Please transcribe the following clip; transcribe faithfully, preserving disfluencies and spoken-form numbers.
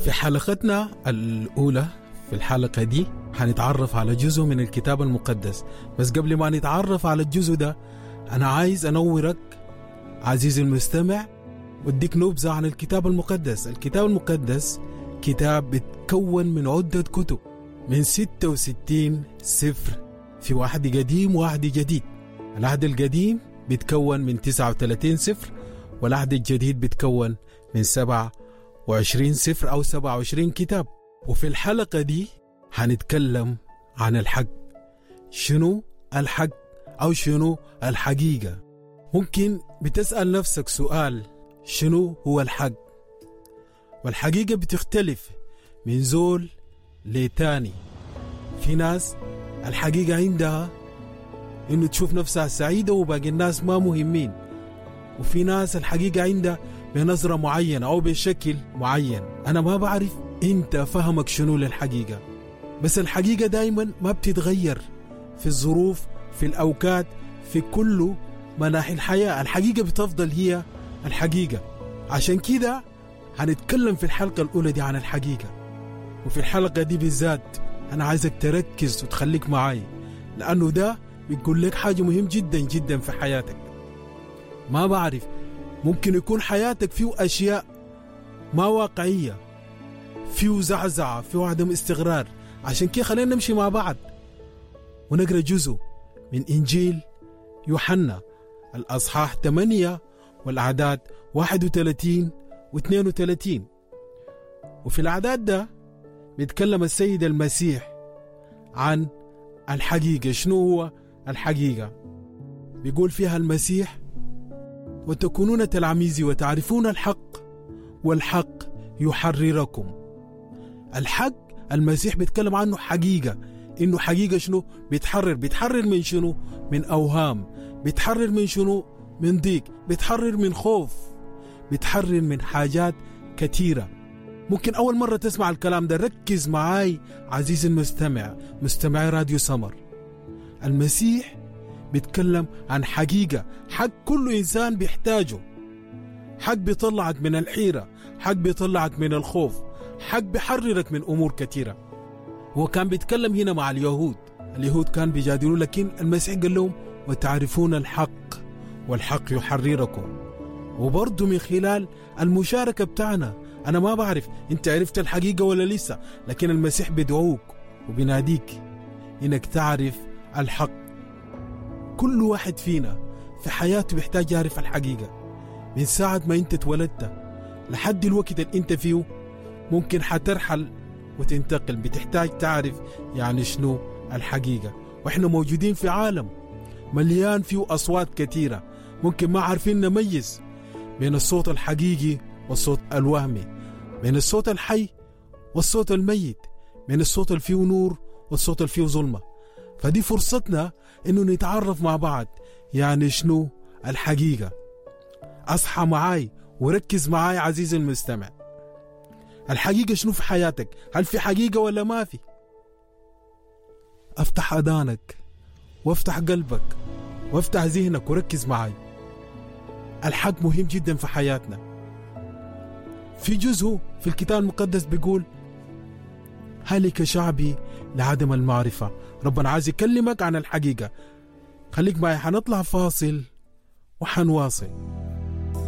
في حلقتنا الأولى في الحلقة دي هنتعرف على جزء من الكتاب المقدس. بس قبل ما نتعرف على الجزء ده، أنا عايز أنورك عزيزي المستمع واديك نبذة عن الكتاب المقدس. الكتاب المقدس كتاب بيتكون من عدة كتب، من ستة وستين سفر، في واحد قديم وواحد جديد. العهد القديم بيتكون من تسعة وثلاثين سفر، والعهد الجديد بيتكون من سبعة وعشرين سفر أو سبعة وعشرين كتاب. وفي الحلقة دي هنتكلم عن الحق. شنو الحق أو شنو الحقيقة؟ ممكن بتسأل نفسك سؤال، شنو هو الحق؟ والحقيقة بتختلف من زول لتاني. في ناس الحقيقة عندها إنه تشوف نفسها سعيدة وباقي الناس ما مهمين، وفي ناس الحقيقة عندها بنظرة معينة أو بشكل معين. أنا ما بعرف أنت فهمك شنو للحقيقة، بس الحقيقة دايما ما بتتغير في الظروف، في الأوقات، في كل مناحي الحياة. الحقيقة بتفضل هي الحقيقة. عشان كده هنتكلم في الحلقة الأولى دي عن الحقيقة. وفي الحلقة دي بالذات أنا عايزك تركز وتخليك معاي، لأنه ده بيقول لك حاجة مهم جدا جدا في حياتك. ما بعرف، ممكن يكون حياتك فيه أشياء ما واقعية، فيه زعزعة، فيه عدم استقرار. عشان كده خلينا نمشي مع بعض ونقرأ جزء من إنجيل يوحنا الأصحاح ثمانية والأعداد واحد وثلاثين واثنين وثلاثين. وفي الأعداد ده بيتكلم السيد المسيح عن الحقيقة. شنو هو الحقيقة؟ بيقول فيها المسيح: وتكونون تلاميذي وتعرفون الحق والحق يحرركم. الحق المسيح بيتكلم عنه حقيقة، إنه حقيقة شنو؟ بيتحرر. بيتحرر من شنو؟ من أوهام. بيتحرر من شنو؟ من ضيق. بيتحرر من خوف. بيتحرر من حاجات كثيرة. ممكن أول مرة تسمع الكلام ده، ركز معاي عزيزي المستمع، مستمعي راديو سمر. المسيح بيتكلم عن حقيقة، حق كل إنسان بيحتاجه، حق بيطلعك من الحيرة، حق بيطلعك من الخوف، حق بيحررك من أمور كثيرة. هو كان بيتكلم هنا مع اليهود، اليهود كان بيجادلوا، لكن المسيح قال لهم وتعرفون الحق والحق يحرركم. وبرضه من خلال المشاركة بتاعنا، أنا ما بعرف أنت عرفت الحقيقة ولا لسه، لكن المسيح بيدعوك وبيناديك إنك تعرف الحق. كل واحد فينا في حياته بيحتاج يعرف الحقيقة. من ساعة ما أنت اتولدت لحد الوقت اللي أنت فيه ممكن حترحل وتنتقل، بتحتاج تعرف يعني شنو الحقيقة. وإحنا موجودين في عالم مليان فيه أصوات كثيرة، ممكن ما عارفين نميز بين الصوت الحقيقي والصوت الوهمي، بين الصوت الحي والصوت الميت، بين الصوت اللي فيه نور والصوت اللي فيه ظلمة. فدي فرصتنا إنه نتعرف مع بعض يعني شنو الحقيقة. أصحى معاي وركز معاي عزيزي المستمع. الحقيقة شنو في حياتك؟ هل في حقيقة ولا ما في؟ افتح أذانك وافتح قلبك وافتح ذهنك وركز معاي. الحق مهم جدا في حياتنا. في جزء في الكتاب المقدس بيقول هلك شعبي لعدم المعرفة. ربنا عايز يكلمك عن الحقيقة. خليك معي، حنطلع فاصل وحنواصل.